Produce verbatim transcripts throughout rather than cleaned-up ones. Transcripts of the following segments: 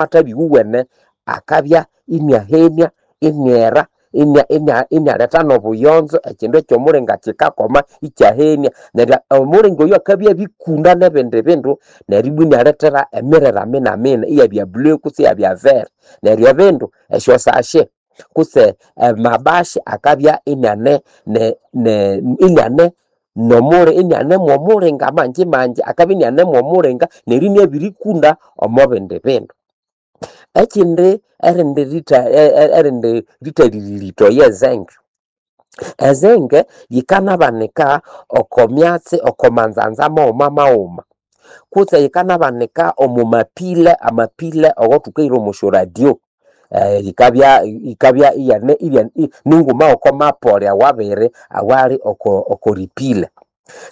amathabi iwuwene akabya iniahenia, iniera, inia inia inialeta n'obuyonzo, ekindu eky'omulinga kikakoma ikyahenia. Neryo omulinga oyo akabya abikunda n'ebindi bindu neryo ibwa inialethera emirera minamina iyabya blue kutse iyabya vert. Neryo ebindu esyosashe kutse amabashi akabya iniane ne ne iniane nomuli iniane mw'omulinga mangi mangi, akabya iniane mw'omulinga neryo iniabirikunda omo bindi bindu. Ekindi erindi ritha erindi rithalĩrĩrĩtho ye zinc. E zinc yikanabanika oko myatsi oko manzanza maghuma maghuma kutse yikanabanika omo mapile, amapile awathukahira omo syoradio, yikabya yikabya iyane ninguma yoko mapole awabiri awali oko okoripile.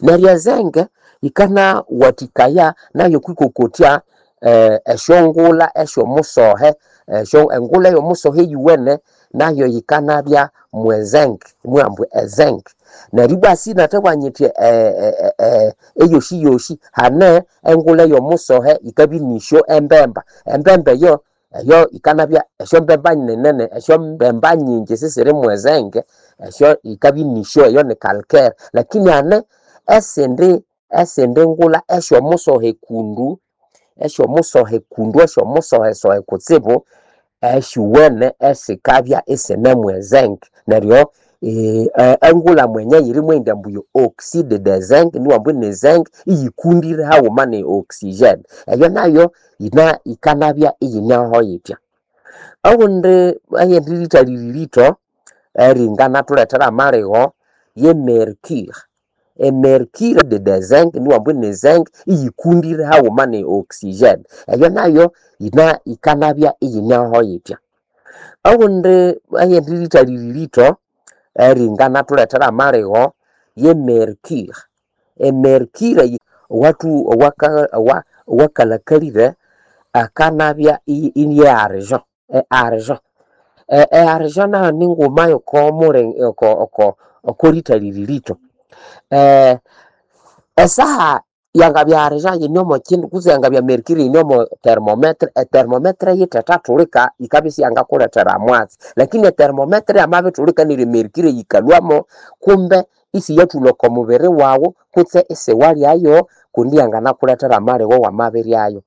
Neryo e zinc yikanawathikaya nayo okwikokotya esyongulha esyomusohe, esyo engulha eyomusohe eyuwene nayo yikanabya mwe zinc, mwambu e zinc. Neryo ibwa sinathabugha nyithi eyosi hane engulha eyomusohe yikabya inisyo embemba. Embemba eyo eyo yikanabya esyombemba ninene esyombemba nyingi sisiri mwe zinc, esyo yikabya inisyo eyo ni calcaire. Lakini hane esindi esindi ngulha esyomusohe kundu, esyomusohe kundu esyomusohesohe kutsibu, esyuwene esikabya isine mwe zinc. Neryo engulha mwenye yiri mwenda ambu oxide de zinc niwambu ni zinc iyikundire haghuma ne oxygene. Eyo nayo yina yikanabya iyineho yitya. Owundi eyindi rithalĩrĩrĩtho eringanathuletera amaligho ye mercure. E mercure de zinc niwambu ni zinc iyikundire haghuma ne oxygene. Eyo nayo yina yikanabya iyineho yitya. Owundi eyindi rithalĩrĩrĩtho eringanathuletera amaligho ye mercure. E mercure owathu owaka owakalhakalire akanabya ini argent, e argent. E argent nayo ninguma yoko muli oko oko okorithalĩrĩrĩtho. Esaha yangabya argent yine omo kindu kutse yangabya mercure yine omo thermometer, e thermometer yithethathulika yikabya isiyangakulethera mwatsi. Lakini e thermometer yamabithulika neryo e mercure yikalhwamo kumbe isiyathulha oko mubiri waghu kutse isiwalyayo kundi yanganakulethera amaligho wamabiryayo.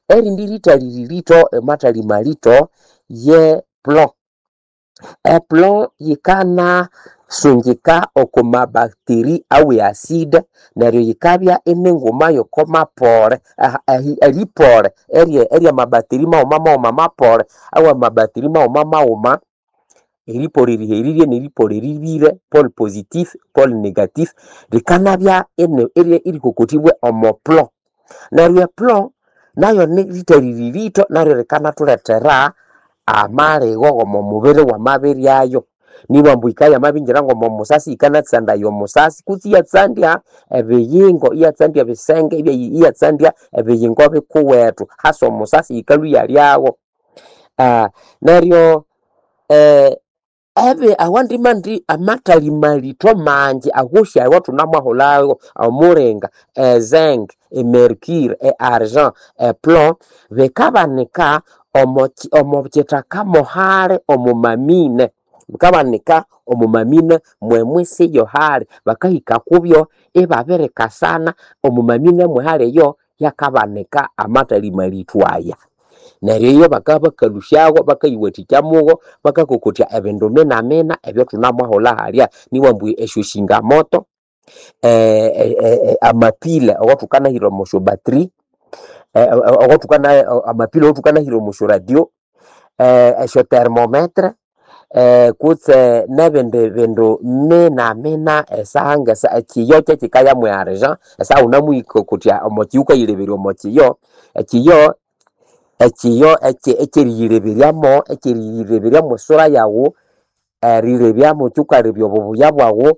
Erindi rithalĩrĩrĩtho amathalĩ malitho ye plomb. E plomb yikanasungika oko mabacteria awe acide neryo yikabya ininguma yoko mapole eripole erye mabacteria maghuma maghuma mapole awa mabacteria maghuma maghuma, eripole eriherire neripole eribire, pole positif, pole negatif, likanabya erikokotibwa omo plomb. Neryo e plomb nayo nirithalĩrĩrĩtho naryo likanathulethera amaligho g'omo mubiri wamabiryayo. Nibwa ambu yikabya yamabingira ng'omo musasi yikanatsandaya omusasi kutse iyatsandya ebiyingo, iyatsandya ebisenge, iyatsandya ebiyingo bikuwethu hasa omusasi yikalhwa iyalyagho. Neryo ebi awandi mandi amathali malitho mangi awosi awathunamwahulhago: omulinga, e zinc, e mercure, e argent, e plomb, bikabanika omo omo kithaka mohali omo mamine. Bikabanika omo mamine mwemwisi yohali. Bakahika kubyo ibabirikasana omo mamine mwehali eyo yakabanika amathali malitho aya. Neryo iyo bakabya bakalhusyago bakayiwathikya mugo bakakokotya ebindu minamina ebyathunamwahulha halya. Nibwa ambu esyosingamoto, amapile awathukanahira omo syobattery, awathukana amapile awathukanahira omo syoradio, esyo thermometer, kutse nebindi bindu minamina esaha ngesa ekiyo kyekikaya mwe argent, esaha wunemuyikokotya omo kiyo wukayileberya omo kiyo, ekiyo ekiyo ekyeriyileberyamo ekyeriyileberya mwesura yaghu, erilebyamu kyukalebya obubuya bwaghu,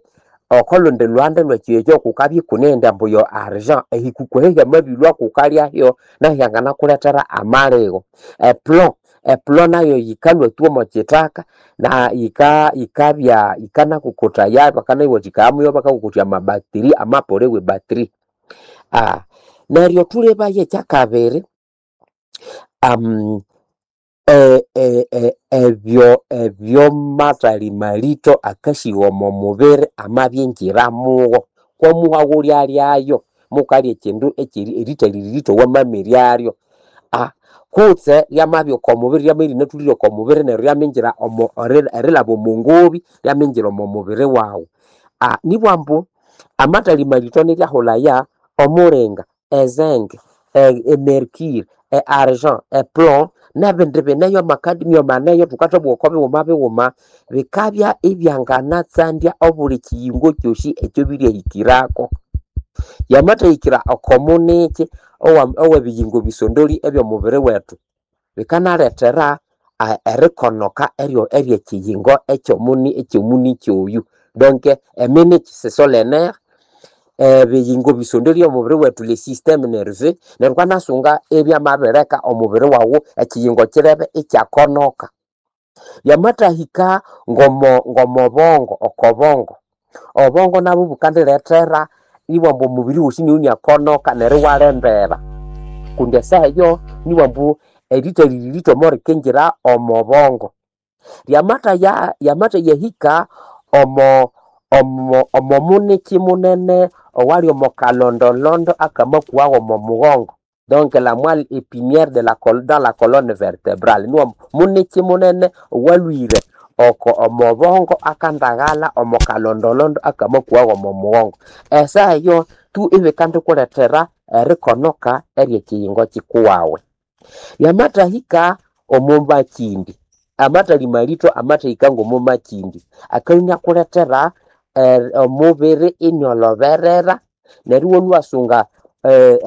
oko lundi lhuhande lwekiyo ekyo kukabya ikuneghenda ambu yo argent, ehikuku eyo hyamabilhwa kukalyayo nayo hyanganakulethera amaligho. E plomb, e plomb nayo yikalhwa tu omo kithaka na yika yikabya yikanakokothaya bakanayiwathikaya muyo bakakokotya amabacteria amapole we battery. Neryo thulebaye ekyakabiri. E, e, e, ebyo ebyomathali malito akasiwa omo mubiri amabyingira mugo kwamuha ghulyalyayo mukalya ekindu ekyeri erithalirito wamamiryaryo. Ah, kutse lyamabya oko mubiri lyama erinatholire oko mubiri neryo lyamingira omo eri- erilhaba omo ngobi lyamingira omo mubiri waghu. Ah, nibwa ambu amathali malito niryahulhaya omulinga, ezinc, e mercure, e argent, e plomb nebindi bineyo amakadmium aneyo thukathabugha oko bighuma bighuma bikabya ibyanganatsandya obuli kiyingo kyosi ekyobiryahikirako. Yamathahikira oko muniki owa owebiyingo bisondoli ebyomubiri wethu bikanalethera erikonoka eryo eryekiyingo ekyomuni ekyomuniki oyu. Donc eminiki ce sont les nerfs, ebiyingo bisondoli omubiri wethu le système nerveux neryo wukanasunga ibyamabirileka omubiri waghu ekiyingo kirebe ikyakonoka. Yamathahika ngomo ngomobongo okobongo, obongo nabwo bukandilethera ibwamba omubiri wosi inabya iniakonoka neryo iwalembera kundi esaha eyo nibwambu erithalirito morikingira omo bongo. Lyamathaya yamathayahika omo omo omo muniki munene owali omo kalondolondo akamakuwagho omo mughongo donc la moelle épinière de la dans la colonne vertébrale niwo muniki munene owalhwire oko omo bongo akandaghalha omo kalondolondo akamakuwagho omo mughongo. Esaha eyo tu ibikandikulethera erikonoka eryekiyingo kikuwawe. Yamathahika omo makindi, amathali malito amathahika ngomo makindi akabya inyakulethera omubiri iniolhoberera neryo iwalhwa iwasunga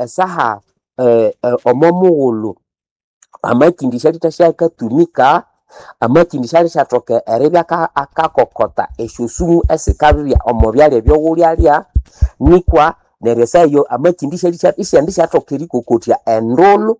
esaha omo mughulhu amakindi syalithasyakatumika, amakindi syalithathoka eribya akakokota esyosumu esikabya omo byalya ebyaghulyalya nikwa neryo esaha eyo amakindi isyandisathoka erikokotya endulhu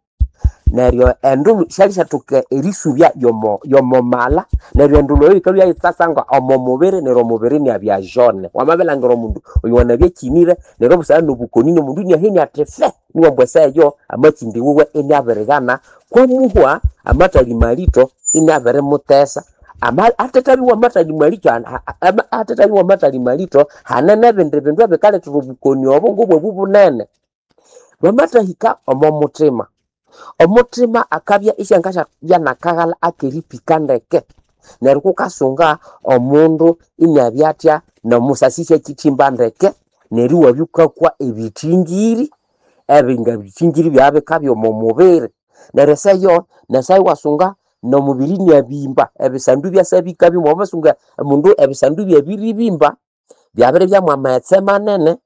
neryo endulhu syalisathoka erisubya yomo yomo mala neryo endulhu eyo yikalhwa yitsasanga omo mubiri neryo omubiri inabya jaune. Wamabilhangira omundu oyo wanabya akyinire neryo obusana nobukoni nomundu iniahenia athi fe niwambu esaha eyo amakindi wiwe iniabirighana kwamuhwa amathali malito iniabirimutesa. Ama athethabiwa amathali malito athethabiwa amathali malito hane nebindi bindu ebikalethera obukoni obo ngobwabu bunene. Bwamathahika omo muthima, omuthima akabya isyangasyabya nakaghalha akeripika ndeke neryo kukasunga omundu iniabya athya nomusasi isyakyithimba ndeke neryo iwabya wukakwa ebithingiri ebinga bithingiri byabikabya omo mubiri neryo esaha eyo nesaha iwasunga nomubiri iniabimba ebisandu ibyasa bikabya wamasunga omundu ebisandu byabiribimba byabiribya mwamaghetse manene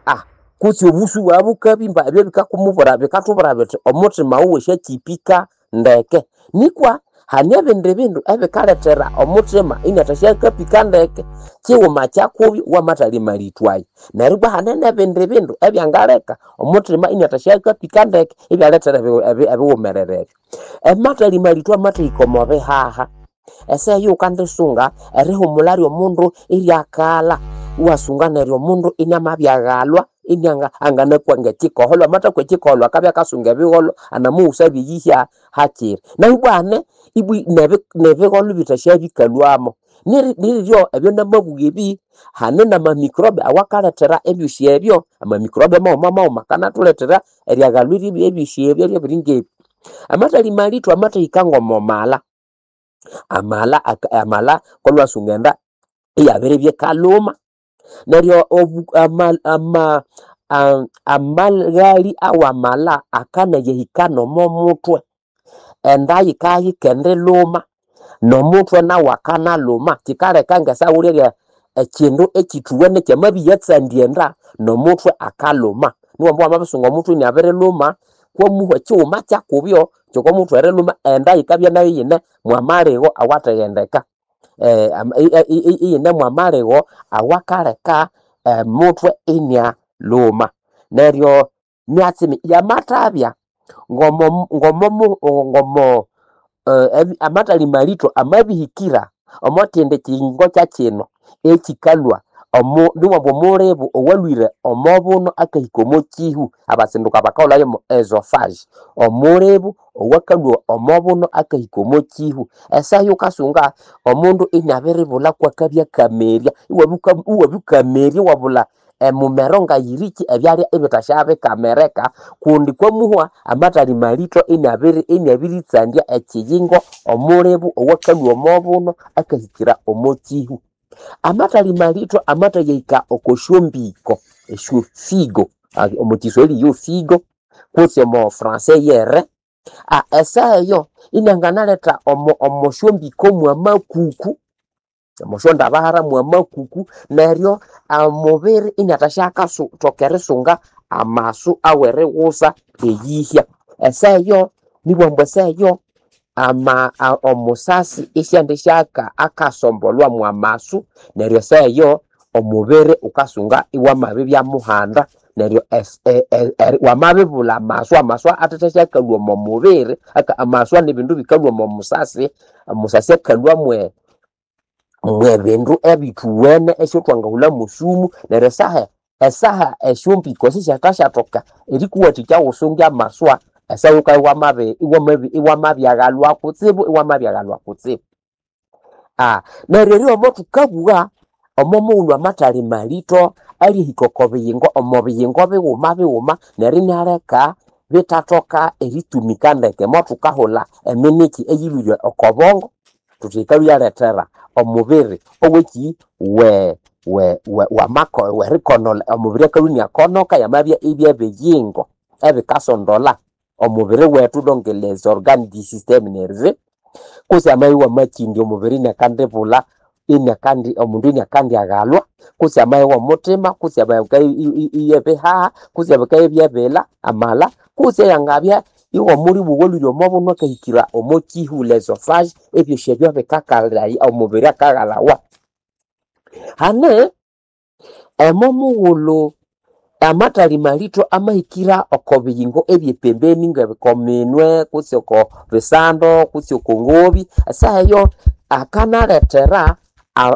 ah kutse obusu bwabya bukabimba ebyo bikakumubwira bikathubwira bithi omuthima wuwe syakyipika ndeke. Nikwa hane ebindi bindu ebikalethera omuthima iniathasyakapika ndeke kighuma kyakubyo wamathali malito ayo. Neryo ibwa hane nebindi bindu ebyangaleka omuthima iniathasyakapika ndeke ibyalethera ebighumerere ebyo. Amathali malito amathahika omo bihaha, esaha eyo ghukandisunga erihumulha lyomundu iryakalha iwasunga neryo omundu iniamabyaghalwa inianga anganakwa ngekikoholho amathakwa ekikoholho akabya akasunga ebigholho anamughusabya eyihya hakiri. Nahu ibwa hane ibwi nebigholho bithasyabĩkalhwamo. Niryo ebyo namabugha ebi hane nama microbe awakalethera ebyosi ebyo, ama microbe maghuma maghuma akanathulethera eryaghalwa ebyosi ebyo ebiringebi. Amathali malito amathahika ngomo mala, amala amala kolhwasunga enda iyabiribya ikalhuma neryo ama ama amaghali awamala akanayahika nomo muthwe enda yikabya yikendilhuma nomuthwe nawu akanalhuma kyikaleka ngesaha ghulyalya ekyindu ekyithuwene kyamabya enda nomuthwe akalhuma. Niwamba wamabisunga omuthwe iniabirilhuma kwamuhwa kyighuma kyakubyo kyokomuthwe erilhuma enda yikabya nayo iyine mwamaligho awathaghendeka iyine mwamaligho awakaleka omuthwe inialhuma. Neryo myatsi yamathabya ngomo ngomo ngomo amathali malito amabihikira omo kyindi kiyingo kyakyino ekyikalhwa Omu niwamba omulibu owalhwire omo buno akahika omo kihu, abasinduka bakahulhayo mo esophagus. Omulibu owakalhwa omo buno akahika omo kihu. Esaha eyukasunga omundu inabiribulha kwakabya akamerya, iwabya iwabikamerya iwabulha emumero ngayiriki ebyalya ibithasya bikamereka kundi kwamuhwa amathali malitho inabiri inabiritsandya ekiyingo omulibu owakalhwa omo buno akahikira omo kihu. Amathali malitho amathayahika oko syombiko, esyofigo, omo kiswahili yo figo kutse omo francais yere, esaha eyo inanganaletha omo omo syombiko mwamakuku, omo syondabahara mwamakuku, neryo omubiri iniathasya akathoka erisunga amasu aweriwusa eyihya. Esaha eyo nibughambu ambu esaha eyo ama omusasi isyandi syaka akasombolhwa mwamasu neryo esaha eyo omubiri wukasunga iwamabibya muhanda neryo wamabibulha amasu, amasu athathasyakalhwa omo mubiri, amaswa nibindu bikalhwa omo musasi, omusasi akalhwa mwe mwebindu ebithuwene esyathwangahulha mosumu neryo esaha esaha esyombiko sisyathashathoka erikuwathikya wusunge amaswa esaha wukabya iwamabi iwamabi iwamabyaghalwa kutsibu iwamabyaghalwa kutsibu. Neryo eryo omo thukabugha omo mughulhu amathali malitho alyahika oko biyingo omo biyingo bighuma bighuma neryo inaleka bithathoka eritumika ndeke mothukahulha eminiki eyilhwire oko bongo thuthi yikalhwa iyalethera omubiri oweki we we wamako werikonolha omubiri akalhwa iniakonoka yamabya ibyebiyingo ebikasondolha omubiri wethu donc les organes du système nerveux kutse amabya iwamakindya omubiri iniakandibulha iniakandi omundu iniakandyaghalwa kutse amabya iwomuthima kutse amabya iyebihaha kutse amabya ibyebilha amala kutse yangabya iwomulibu owalhwire omo buno akahikira omo kihu l'esophage ebyosi ebyo bikakalhaya omubiri akaghalawa. Hane emo mughulhu amathali malitho amahikira oko biyingo ebyepembeni ngoko minwe kutse oko bisando kutse oko ngobi esaha eyo akanalethera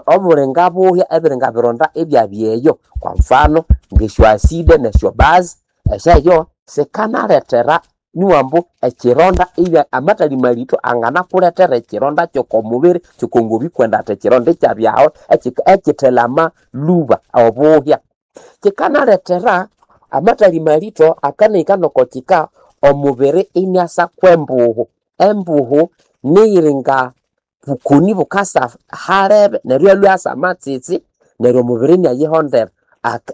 obulinga buhya ebiringa bironda ibyabya eyo kwa mfano ngesyo acid nesyo base esaha eyo sikanalethera niwambu ekironda ibya amathali malitho anganakulethera ekironda kyoko mubiri kyoko ngobi kwenda athi ekironda ikyabyaho ekithelama lhuba obuhya. Kikanalethera amathali malitho akanahika noko kika omubiri iniasa kwembuhu. Embuhu niyiringa bukoni bukasa halebe neryo iyalhwa asa amatsitsi neryo omubiri inayihondera.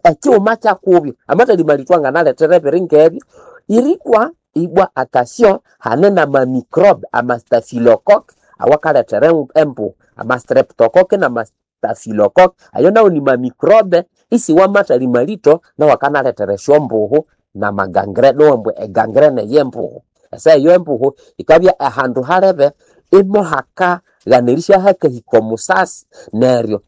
Ekighuma kyakubyo amathali malitho anganalethera ebiringa ebyo irikwa ibwa attention hane nama microbe ama staphylocoque awakalethera embuhu, ama streptocoque nama staphylocoque ayo nawo ni ma microbe isiwa amathali malitho nawu akanalethera esyombuhu nama gangrene niwambu e gangrene eyembuhu. Esaha eyo embuhu yikabya ahandu halebe imohakaghana erisya hakahika omusasi neryo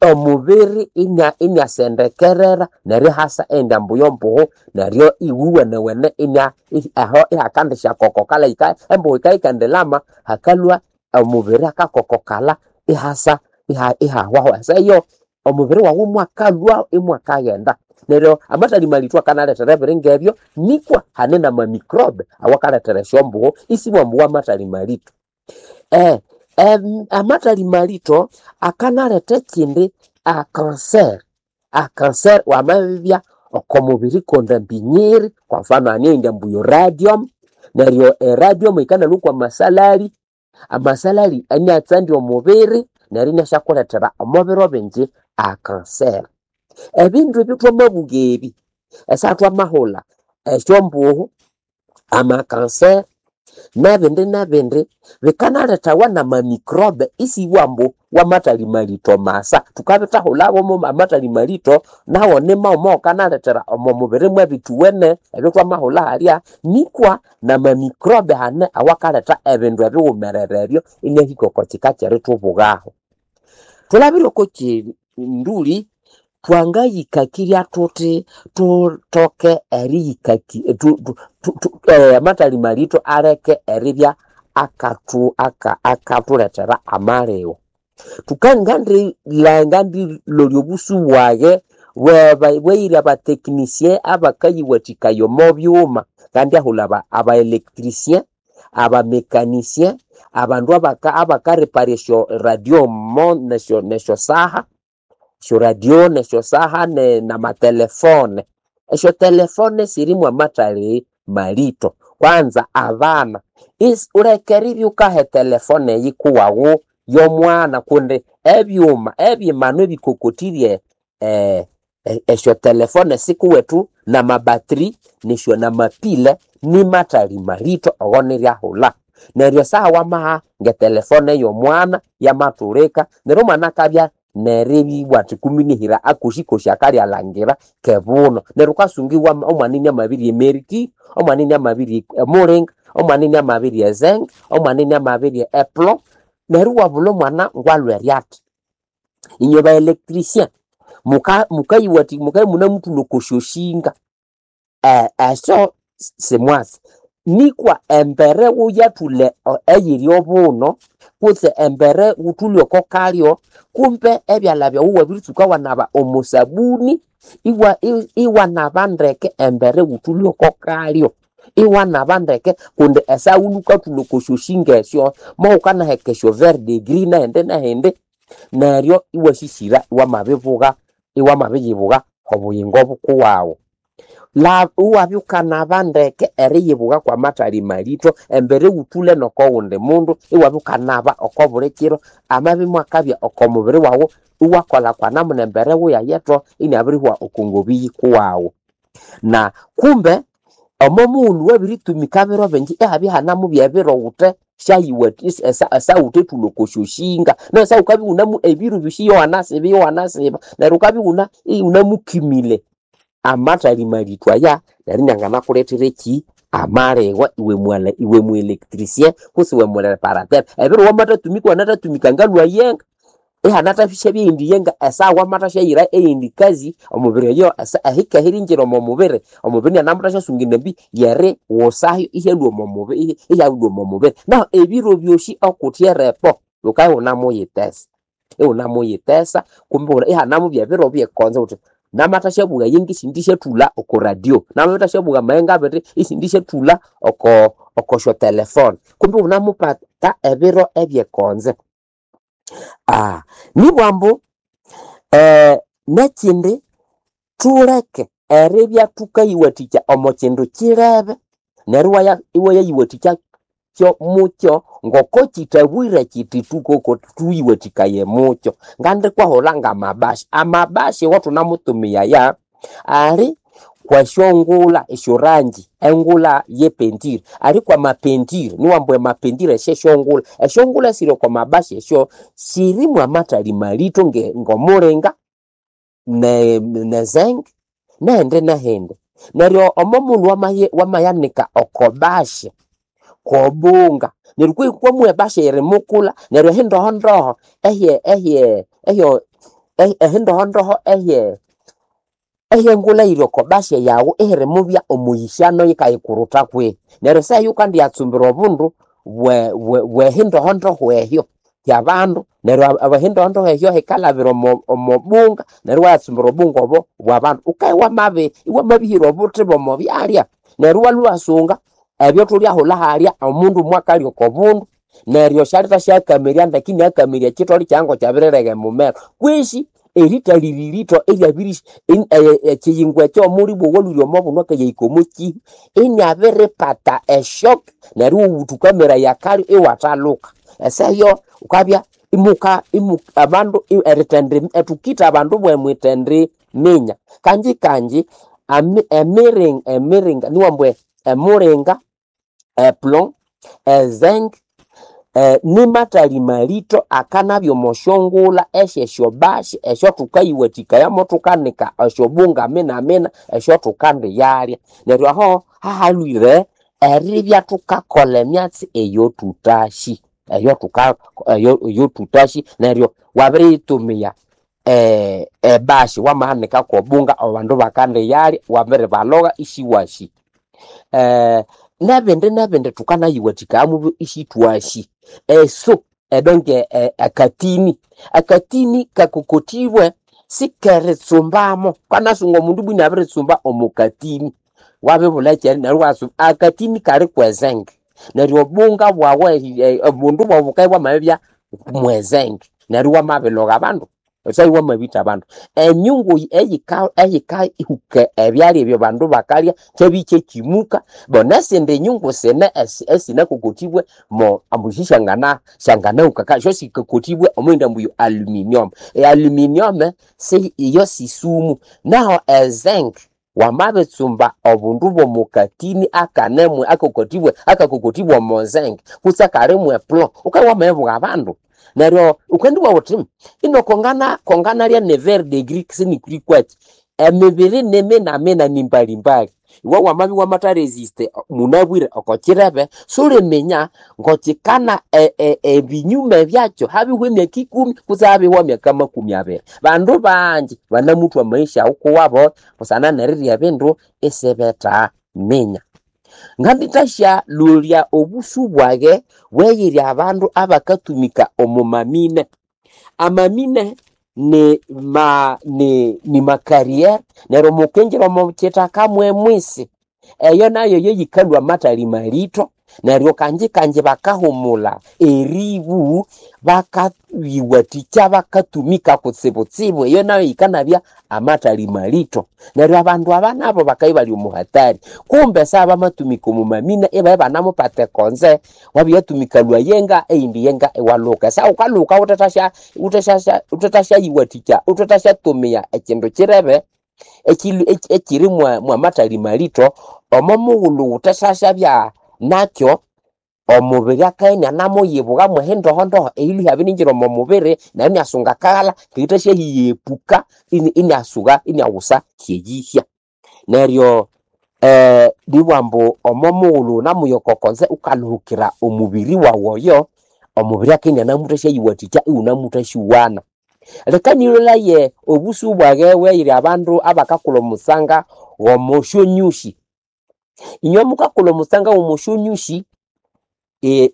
omubiri inya inyasendekerera neryo ihasa eyindi ambu yombuhu neryo iwuwenewene inya aho ihakandisyakokokalha embuhu yikabya yikendilhama hakalhwa omubiri akakokokalha ihasa ihahwaho esaha eyo omubiri wawu imwakalhwa imwakaghenda. Neryo amathali malitho akanalethera ebiringa ebyo nikwa hane nama microbe awakalethera esyombuhu isibwa ambu wamathali malitho. Amathali malitho akanaletha ekindi a cancer, a cancer wamabibya oko mubiri kwendambi nyiri kwa mfano hane eyindi ambu yo radium neryo e radium yikanalhwa kwa masalali, amasalali iniatsandya omubiri neryo iniasyakulethera omo biro bingi a cancer. Ebindu ebyo thwamabuga ebi esaha thwamahulha esyombuhu, ama cancer nebindi nebindi bikanalethawa nama microbe isibwa ambu wamathali malitho masa. Thukabithahulhawo amathali malitho nawo nimaghuma awakanalethera omo mubiri mwebithuwene ebyathwamahulha halya nikwa nama microbe hane awakaletha ebindu ebighumerere ebyo iniahika oko kika kyerithubugaho. Thulabire oko kinduli twangayikakirya thuthi thuthoke eriyikaki amathali malitho aleke eribya akathu akathulethera amaligho. Tukangandilolya obusu bwage bweyiri abatechnicien abakayiwathikaya omo byuma. Ngandyahulha aba electricien, aba mecanicien, abandu abakarepara esyo radio nesyo saha, esyo radio nesyo saha namatelefone. Esyo telefone sirimu amathali malito. Kwanza abana wuleke eribya wukaha etelefone eyikuwaghu y'omwana kundi ebyuma ebyimanu ebikokothirye esyo telefone sikuwethu namabattery nesyo namapile nimathali malito ogo niryahulha. Neryo esaha wamaha ngetelefone y'omwana yamathulika neryo omwana akabya neribya athi kumi nihira akosi-kosi akalyalhangira kebuno. Neryo wukasunga omwana iniamabirya emerikiro, omwana iniamabirya emulinga, omwana iniamabirya ezenga, omwana iniamabirya eplo, neryo iwabulha omwana ngwalhwere athi. Inywe ba electricien mukayiwathikaya mukabya imunemuthulha oko syoshinga, esyo simwasi nikwa embere wuyathulha eyiri obuno kutse embere wuthulhe oko kalyo kumbe ebyalha byawu iwabiritsuka iwanaba omo sabuni iwanaba ndeke embere wuthulhe oko kalyo. Iwanaba ndeke kundi esawuni wukathulha oko syoshinga esyo mowukanaheka esyo verdigris nehindi nehindi neryo iwasisira iwamabibuga iwamabiyibugha obuyingo bukuwaghu. Iwabya wukanaba ndeke eriyibugha kwamathali malito embere wuthulhe nokowundi mundu iwabya wukanaba oko buli kiro amabya imwakabya oko mubiri waghu iwakolha kwanamuna embere wuyayetho inabirihwa oko ngobi yikuwaghu. Na kumbe omo mughulhu wabiritumika biro bingi ihabya ihanamubya ebiro wuthe esawuthe thulha oko syoshinga neryo esaha wukabya iwunamu ebiro byosi iyowanasiba iyowanasiba neryo wukabya iwunamukimile amathali malito aya neryo inianganakulethera ekyi amalhihwa iwe mu electricien kutse iwe mureparateur. Ebiro wamathatumika iwanathatumika ngalhwa yenga ihanathasyabya eyindi yenga esaha wamathasyayira eyindi kazi omubiri oyo ehike erihingira omo mubiri, omubiri inianamuthasyasunga endambi yeriwusayo ihyalhwa omo mubiri ihyalhwa omo mubiri. Nahu ebiro byosi okuthe erepo wukabya iwunamuyithesa iwunamuyithesa kumbe ihanamubya ebiro byekonzo wuthi namathasyabuga eyenga isindisyathulha oko radio, namathasyabuga amayenga abiri isindisyathulha oko oko syotelefone kumbe iwunamupata ebiro ebyekonzo. Nibwa ambu nekyindi thuleke eribya thukayiwathikya omo kyindu kyilebe neryo iwayayiwathikya mukyo ngoko kyithabwire kyithi thukoko thuyiwathikaye mukyo. Ngandikwahulha ngamabashi, amabashi awathunamutumiyaya ali kwesyongulha esyorangi engulha yepentire, ali kwamapentire niwambu emapentire esyesyongulha, esyongulha esiri oko mabashi esyo sirimu amathali malito ngomulinga nezenge nehindi nehindi. Neryo omo mughulhu wamayanika oko bashi kwobunga neryo kwihi kwamuha ebashi eyirimukulha neryo ehindohondoho ehye ehye ehyo ehindohondoho ehye ehyengulha eyiri oko bashi yaghu ihirimubya omuyishano yikayikurutha kwihi. Neryo esaha eyo wukandiyatsumbira obundu bwe bwehindohondoho ehyo hyabandu neryo ehindohondoho ehyo hikalhabira omo bunga neryo iwayatsumbira obunga obo bwabandu. Wukabya wamabi iwamabihira obuthi bw'omo byalya neryo iwalhwa iwasunga ebyo thulyahulha halya omundu mwakalya oko bundu neryo syalithasyakamirya ndeke iniakamirya ekyitholi kyayi ngokyabirirega emumero kwisi erithalira eritho eryabiri ekyiyingo ekyo omulibwa owalhwire omo bunu akayahika omo kihwa iniabiripata eshock neryo iwawuthukameraya akalyo iwathaluka. Esaha eyo wukabya imuka abandu erithendi thukitha abandu bwemwithendiminya. Kanji kanji emiringa niwambu emulinga, eplo, ezenga nimathali malito akanabya omo syongulha esyesyobashi esyaathukayiwathikaya thukanika esyobunga minamina esyathukandiyalya. Neryo aho hahalhwire eribya thukakolha emyatsi eyothutasi eyothutasi neryo wabiriyitumiya ebashi wamahanika kwobunga abandu bakandiyalya wabiribalogha isiwasi. Nebindi nebindi thukanayiwathikaya mubyo isithwasi. Eso edonke akatini akatini kakokotibwe sikeritsumbamo kanasunga omundu bwini abiritsumba omo katini wabibulha ekyeri neryo iwatsumba akatini kali kwezenge neryo obunga bwawu obundu bwawu bukabya bwamabibya mwezenge neryo iwamabiloga abandu esya iwamabitha abandu. Enyungu eyika eyikahuka ebyalya ebyo abandu bakalya kyabya kyekyimuka bo nesindi nyungu sine esinakokotibwe mo ambu sisyangana syanganahuka syo sikakotibwe omwindi ambu yo aluminium. E aluminium si iyo sisumu naho ezinc wamabitsumba obundu bw'omukatini akanemu akakotibwe akakokotibwe omo zinc kutse akalimu eplomb wukabya wamabibugha abandu neryo wukandibugha wuthi ino kongana konganalya ne verre de gris sinikuli kwaki emibiri niminamina nimbalimbali iwe wamabya iwamatha resist munabwire oko kirebe suliminya ngokikana ebinyume byakyo habihwa emyaka ikumi kutse habihwa emyaka makumi abiri. Bandu bangi banamuthwa amaisha awukuwabo busana nerirya ebindu isibethaminya. Ngandithasya lolya obusu bwage bweyirya abandu abakatumika omo mamine. Amamine ni ma ni ni macarrière neryo mukingira omo kithaka mwemwisi eyo nayo yeyikalhwa amathali malito neryo kanji kanji bakahumulha eribu bakayiwathikya bakatumika kutsibutsibu eyo nayo yikanabya amathali malito neryo abandu aba nabo bakabya ibali omu hatari kumbe sa bamatumika omu mamine ibabya ibanamupata ekonze wabyatumika lwayenga eyindi yenga iwalhuka sa wukalhuka wuthethasya wuthethasya wuthethasyayiwathikya wuthethasyatumia ekindu kirebe ekiri mwamathali malito omo mughulhu wuthethasya nakyo omubiri akabya inianamuyibugha mwehindohondoho eyilhwe ihyabiriingira omo mubiri neryo iniasunga akaghalha keyithasyahiyepuka iniasuka iniaghusa hyeyihya. Neryo nibugha ambu omo mughulhu wunamuya oko konze wukalhuhukira omubiri wawu oyo, omubiri akabya inianamuthathasyayiwathikya iwunamuthasyuwana. Leka nilolaye obusu bwage bweyiri abandu abakakulha omutsanga w'omosyonyusi. Inywe mukakulha omutsanga w'omosyonyusi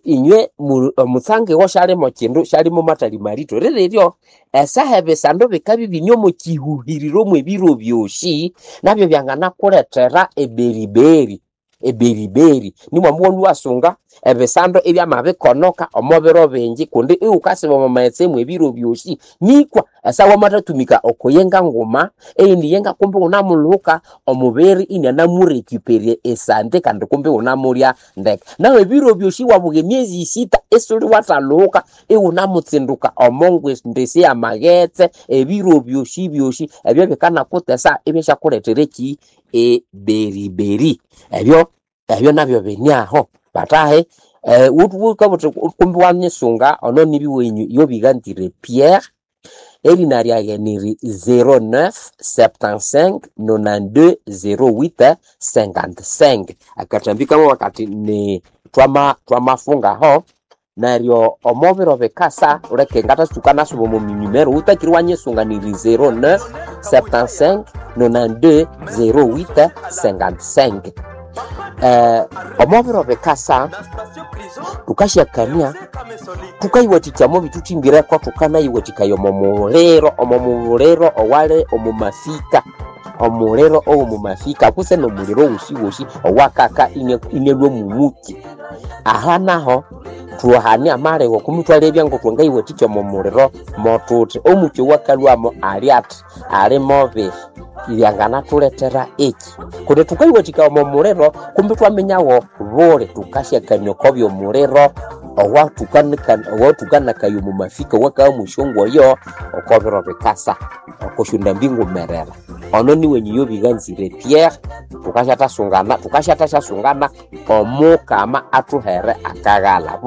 inywe omutsanga iwo syalimo kindu syalimo mathali malito rireryo esaha ebisando bikabya ibine omo kihuhiriro mw'ebiro byosi nabyo byanganakulethera eberiberi eberiberi nimwambu iwalhwa iwasunga ebisando ibyamabikonoka omo biro bingi kundi iwukasiba omo maghetse mw'ebiro byosi nikwa esaha wamathatumika oko yenga nguma eyindi yenga kumbi iwunamulhuka omubiri inianamurecuperya esante kandi kumbi iwunamulya ndeke. Nahu ebiro byosi iwabuga emyezi isita isuli wathalhuka iwunamutsinduka omo ndesi y'amaghetse ebiro byosi byosi ebyo bikanakutesa ibyasyakulethera eki eberiberi ebyo ebyo nabyo bini aho bathahi wukabugha wuthi kumbi iwanyisunga ono nibya wenyu yobiganzire Pierre erina lyaghe niri zero neuf septante-cinq nonante-deux zero huit cinquante-cinq. Akathambi kamabugha kathi ni twama twamafungaho neryo omo biro bikasa wuleke ngathatsuka nasuba omo numero wutakire iwanyisunga niri zero neuf septante-cinq nonante-deux zero huit cinquante-cinq. Omo biro bikasa thukasyakania thukayiwathikya omo bithuthimbirekwo thukanayiwathikaya omo muliro omo muliro owali omu mafika omuliro owomu mafika kutse nomuliro wosiwosi owakaka inalhwa mumuki. Aha naho thuhane amalegho kumi ithwalebya ngokuthwangayiwathikya omo muliro mothuthi omuki owakalhwamo ali athi ali mobihi byanganathulethera eki kundi thukayiwathikaya omo muliro kumbi ithwaminyawo buli thukasyakania oko byomuliro owathukanakaya omu mafika owakabya mwesyongoyo oko biro bikasa oko syondambi ngumerera. Ono niwenyu yobiganzire Pierre thukasyathasungana thukasyathasyasunga omukama athuhere akaghalha.